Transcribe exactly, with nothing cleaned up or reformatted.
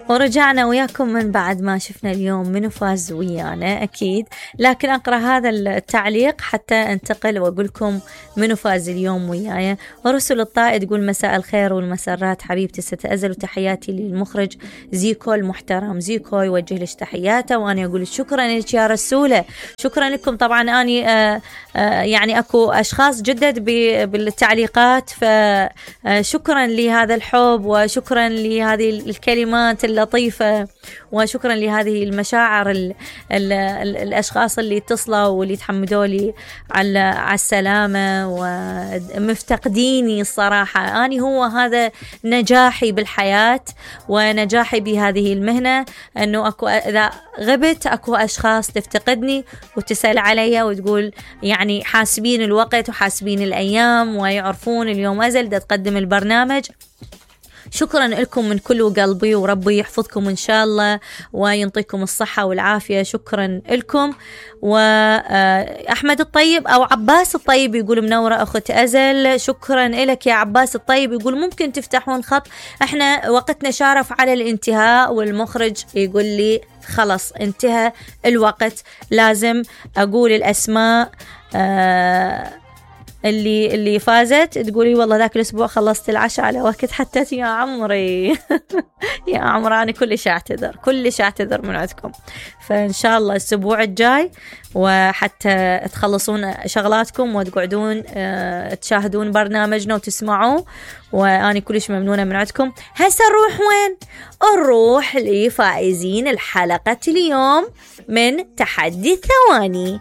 ورجعنا وياكم من بعد ما شفنا اليوم منو فاز ويانا أكيد، لكن أقرأ هذا التعليق حتى أنتقل وأقولكم منو فاز اليوم وياي. ورسل الطائد تقول مساء الخير والمسرات حبيبتي ست أزل، وتحياتي للمخرج زيكو المحترم. زيكو يوجه لك تحياته وأنا أقول شكرا لك يا رسولة، شكرا لكم. طبعا أني آآ آآ يعني أكو أشخاص جدد بالتعليقات، فشكرا لهذا الحب وشكرا لهذه الكلمات اللطيفة وشكرا لهذه المشاعر ال ال ال الأشخاص اللي اتصلوا واللي تحمدوا لي على على السلامة ومفتقديني. الصراحة أنا هو هذا نجاحي بالحياة ونجاحي بهذه المهنة، أنه أكو إذا غبت أكو أشخاص تفتقدني وتسأل علي وتقول يعني حاسبين الوقت وحاسبين الأيام ويعرفون اليوم أزل دا تقدم البرنامج. شكرا لكم من كل قلبي، وربي يحفظكم إن شاء الله وينطيكم الصحة والعافية. شكرا لكم. وأحمد الطيب أو عباس الطيب يقول منورة أخت أزل، شكرا لك يا عباس الطيب. يقول ممكن تفتحون خط، احنا وقتنا شارف على الانتهاء، والمخرج يقول لي خلص انتهى الوقت، لازم أقول الأسماء آه اللي اللي فازت. تقولي والله ذاك الأسبوع خلصت العشاء على وقت حتى يا عمري يا عمري أنا كلش أعتذر كلش أعتذر من عندكم. فإن شاء الله الأسبوع الجاي وحتى تخلصون شغلاتكم وتقعدون اه تشاهدون برنامجنا وتسمعوه، وأنا كلش ممنونة من عندكم. هسه نروح وين؟ نروح لفائزين الحلقة اليوم من تحدي الثواني.